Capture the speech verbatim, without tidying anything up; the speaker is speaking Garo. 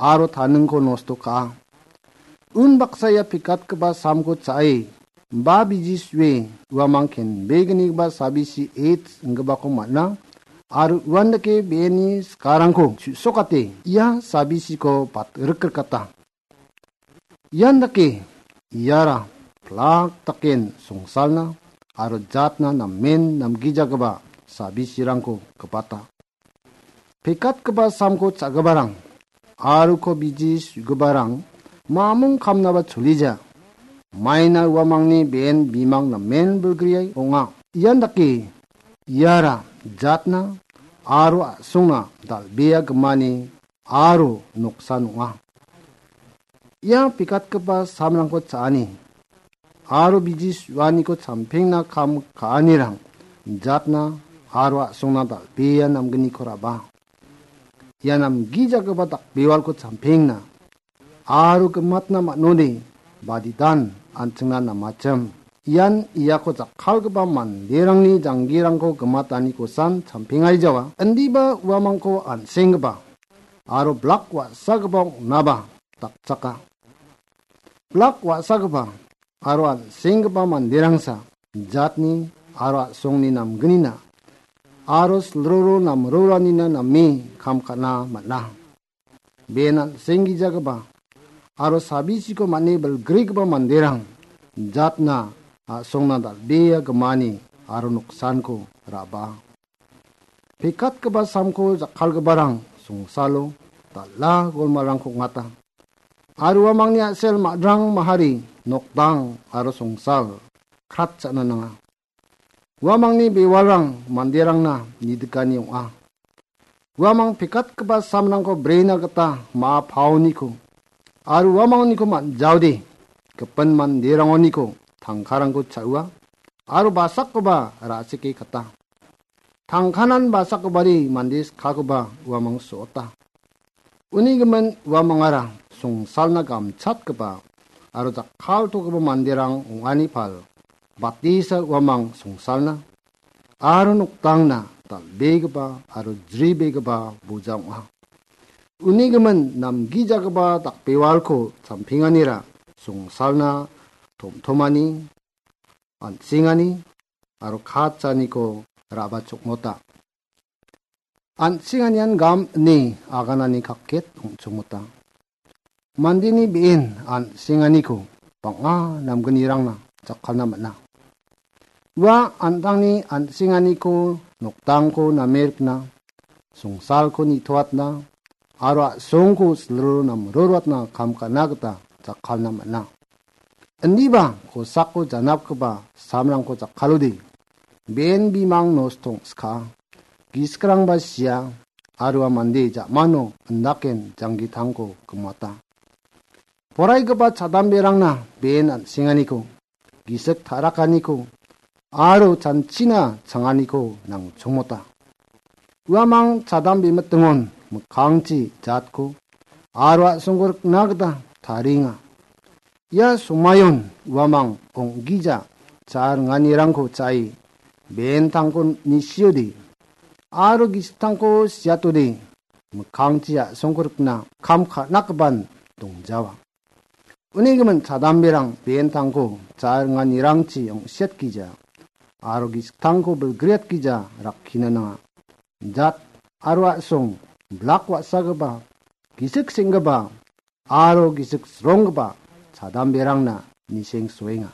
aro taningko nosto ka·a. Unbaksa ia pekatgipa samko cha·e, ba biji sue, uamang kenbegnigipa sabisi ets inggipako man·a, aro uandake be·eni sikarangko chu·sokate ia sabisiko bat-, rikrikata. Ian dake iara plak daken songsalna aro jatna namen namgijagipa sabisirangko gipata. Pekatgipa samko cha·giparang aro ko biji su·giparang mamung kamnaba cholija. Maina uamangni be·en bimang namen bilgriai ong·a. Ian dake iara jatna aro a·songna dal·bea gimani aro noksan ong·a. Ia pekatgipa samrangko cha·ani aro biji su·aniko champengna kam ka·anirang jatna aro a·songna dal·bea namgniko raba. Ia namgijagipa dakbewalko champengna aro gimatna man·ode badidan an·chingna namachim. Ian iako jakkalgipa manderangni janggirangko gimatanikosan champengai jawa. Indiba uamangko an·senggipa aro blak wa·sagipa ong·naba dakchaka. Blak wa·sagipa aro an·senggipa manderangsa jatni aro a·songni namgnina aro silroro namroranina name kam ka·na man·a. Be·en an·senggijagipa aro sabisiko man·e bilgrigipa manderang jatna a·songna dal·bea gimani aro noksanko raba. Pekatgipa samko jakkalgiparang songsalo dal·a golmalrangko ong·ata. Aro uamangni a·sel madrang mahari nokdang aro songsal kratcha·na nanga. Uamangni bewalrang manderangna nidikani ong·a. Uamang pekatgipa samrangko brena gita ma·a paoniko aro uamangniko man·jaode gipin manderangoniko tangkarangko cha·ua aro basakkoba ra·sike kata. Tangkanan basakkobari mande skakoba uamang so·ota. Uni gimin uamangara songsalna gamchatgipa aro jakkaltogipa manderang ong·ani pal batisa uamang songsalna aro nokdangna dal·begipa aro jribegipa boja ong·a. Uni gimin namgijagipa dakbewalko champenganira songsalna tom·tomani, an·sengani aro katchaniko ra·ba chokmota. An·senganian gam ine aganani kakket ong·chongmota. Mandeni be·en an·senganiko bang·a namgnirangna jakkalna man·a. Ua an·tangni an·senganiko nokdangko name rikna, songsalko nitoatna, aro a·songko silroro namroroatna kam ka·na gita jakkalna man·a. Indiba kosako janapgipa samrangko jakkalode, be·en bimang nostong skaa, gisikrangba sia, aro ua mande ja·mano indaken janggitangko gimata. Poraigipa chadamberangna be·en an·senganiko, gisik ta·rakaniko, aro chanchina changaniko nangchongmota. Uamang chadambe mitingon mikkangchi jatko aro a·songko rikna gita tarienga. Ia somayon uamang ong·gija cha·a ringanirangko cha·e be·entangko nisiode aro gisiktangko siatode mikkangchi a·songko rikna kam ka·nakgipan dongjawa. Uni gimin chadamberang be·entangko cha·a ringanirangchi ong·siatgija aro gisiktangko bilgriatgija rakkina nanga. Jat aro a·song, blak wa·sagipa, gisik seng·gipa aro gisik sronggipa chadamberangna niseng soenga.